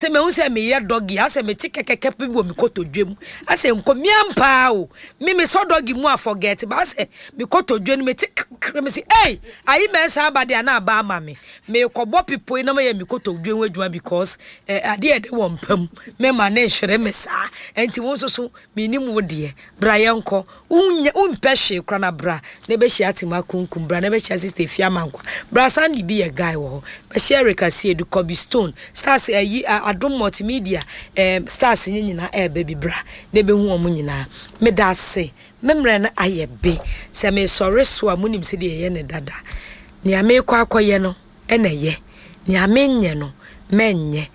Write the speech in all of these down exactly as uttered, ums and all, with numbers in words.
Sɛ mehu sɛ meyɛ doggy asɛ mete kɛkɛkɛ bi wɔ me kotodwe mu asɛ nkɔmia mpaa o. Me mesɔ doggy mu a, forget ba asɛ me kotodwe no mete kɛkɛ. Me se ei, ayi mɛnsa aba de ana aba ama me. Mekɔbɔ pipo yi na mayɛ me kotodwe ho adwuma because eh, adeɛ ɛde wɔ mpa mu mema ne nhwere me saa. Ɛnti wo nso so menim wo deɛ, bra yɛnkɔ. Wonyɛ wompɛ hwee kora na bra na ɛbɛhyia Atima Kunkum, bra na ɛbɛhyia Sister Efia Mankwa, bra Sandy bi yɛ guy wɔ hɔ, bɛhyia Erica Siedu, Kobe Stone, stars ayi Adom Multimedia eh, stars nye nyinaa ɛɛba bi. Bra na ɛbɛhu wɔn nyinaa. Meda ase. Me mmerɛ no ayɛ be sɛ mesɔre so a, monim sɛdeɛ ɛyɛ ne dada. Nea meekɔ akɔyɛ no ɛna ɛyɛ, nea menyɛ no mɛnyɛ.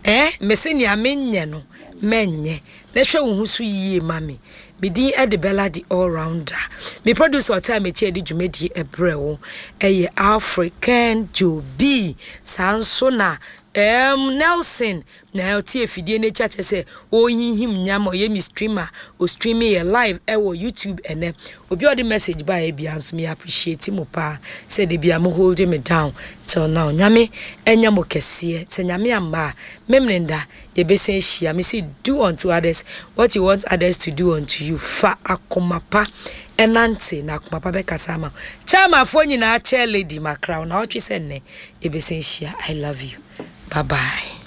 Eh, mese nea menyɛ no mɛnyɛ. Na hwɛ wo ho so yie ma me. Me din ɛde Bella the All Rounder. Me producer ɔtaa m'akyi adi dwumadie ɛbrɛ wo ɛyɛ African Joe B. Saa nso na um, Nelson na ɔte afidie n'akyi akyɛ sɛ ɔrehinhim nyama, ɔyɛ me streamer, ɔstream yɛ live ɛwɔ YouTube. Ɛnɛ obi a ɔde message baeɛ bia nso, me appreciate mo paa sɛ de bia mo hold me down till now. Nyame ɛnyɛ mo kɛseɛ. Sɛ Nyame amma a, memene da yɛbɛsan ahyia. Me se do unto others what you want others to do unto you. Fa akoma pa ɛnante na akoma pa bɛkasa ama wo. Chairmanfoɔ nyinaa, chair lady makra wo na ɔtwe sɛ nnɛ yɛbɛsan ahyia. I love you, bye bye.